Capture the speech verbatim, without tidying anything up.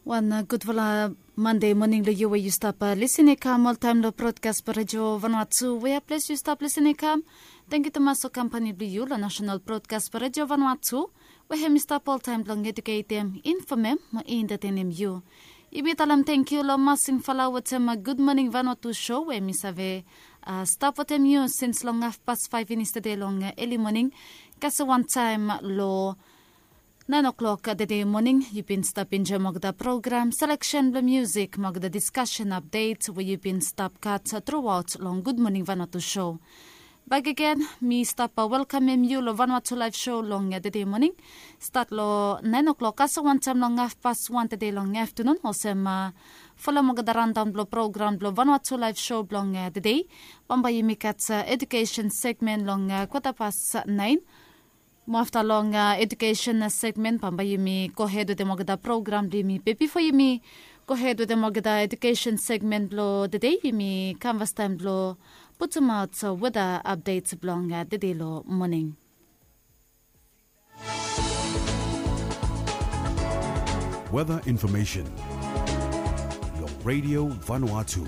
Wan gudfala Mande moning long yu we yu stap lisin i kam oltaem long brodkas blong redio Vanuatu we ya ples yu stap lisin i kam. Tengiu tumas long kampani blong yu long nasenal brodkas blong redio Vanuatu we hem i stap oltaem blong eduketem, infomem mo entetenem yu. Yumi talem tengiu long Masing Fala wetem Gud Moning Vanuatu sho we mi save stap wetem yu sins long hafpas faef finis tede long eli moning. Kasem wantaem long naen oklok tede moning yu bin stap enjoem olgeta program seleksen blong musik mo olgeta diskasen apdet we yu bin stap gat truaot long Gud Moning Vanuatu sho. Bakegen mi stap welkamem yu long Vanuatu Laef Sho long tede moning. Stat long naen oklok kasem wantaem long hafpas wan tede long aftanun olsem folem olgeta randaon blong program blong Vanuatu Laef Sho blong tede. Bambae yumi gat edukesen segmen long kwatapas naen. Mo afta long edukesen segmen bambae yumi gohed wetem olgeta program blong yumi be bifo yumi gohed wetem olgeta edukesen segmen blong tede yumi kam fastaem blong putumaot weda apdet blong tede long moning. Weda infomesen long redio Vanuatu.